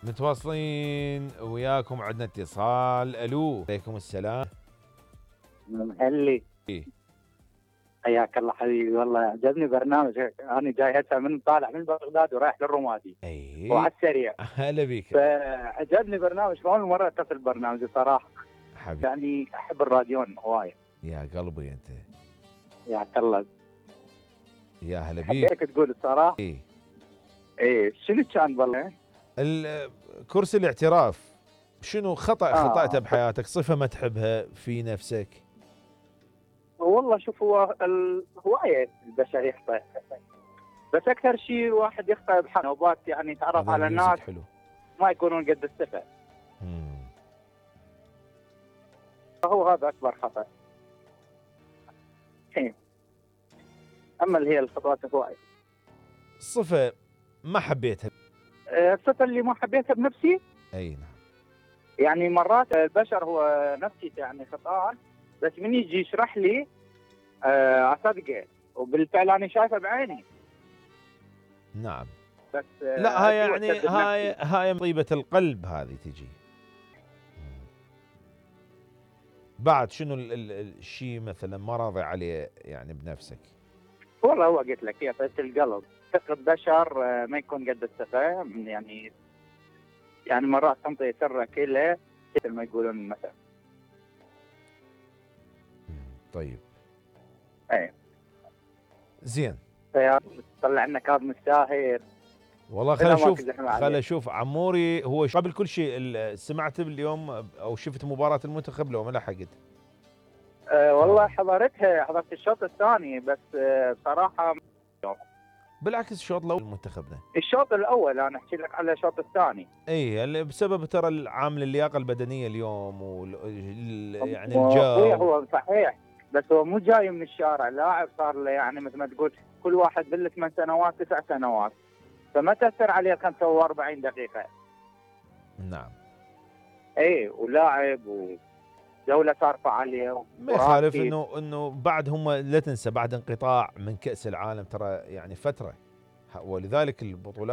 متواصلين وياكم، عندنا اتصال. الو، عليكم السلام. مهلي، إيه؟ حياك الله حبيبي. والله عجبني برنامجك، انا جاي هسه من طالع من بغداد ورايح للرمادي اي وعلى السريع. هلا بيك. فعجبني برنامج، اول مره اتصل برنامج صراحه. حبيبي يعني احب الراديون هوايه. يا قلبي انت. يا الله، يا هلا بيك. حبيتك تقول الصراحه. ايه ايه شنو كان والله؟ كرسي الاعتراف، شنو خطأته آه. بحياتك، صفة ما تحبها في نفسك؟ والله شوف، هو هوايه البشر يخطئ، بس اكثر شيء واحد يخطئ بحنوبات، يعني يتعرف هذا على الميوزك ناس حلو. ما يكونون قد الثقه. مم. فهو هذا اكبر خطأ. إيه. اما اللي هي الخطوات هوايه. صفة ما حبيتها. الصفه اللي ما حبيتها بنفسي، اي نعم. يعني مرات البشر هو نفسي يعني خطأ، بس من يجي يشرح لي اصدقه، وبالفعل انا شايفه بعيني. نعم. بس لا هاي يعني أسوء هاي طيبة القلب هذه تجي. بعد شنو الشيء مثلا ما راضي عليه يعني بنفسك؟ والله هو قلت لك هي طيبة القلب، ثقة بشر ما يكون قد الثقة، يعني مرات تنطي سرك له مثل ما يقولون مثلا. طيب. ايه زين. طلع لنا كاظم الساهر. والله خل اشوف عموري هو قبل كل شيء سمعت اليوم او شفت مباراة المنتخب لو ما لحقت؟ والله حضرت الشوط الثاني بس بصراحة بالعكس الشوط الاول منتخبنا. الشوط الاول انا احكي لك على الشوط الثاني. اي بسبب ترى العامل اللياقة البدنية اليوم يعني الجو. الجو. هو صحيح، بس هو مو جاي من الشارع، لاعب صار له يعني مثل ما تقول كل واحد بال8 سنوات 9 سنوات، فما تأثر عليه 45 دقيقة. نعم. اي ولاعب ودولة ترفع عليه. ما يخالف انه بعد هم لا تنسى بعد انقطاع من كأس العالم ترى يعني فترة، ولذلك البطولات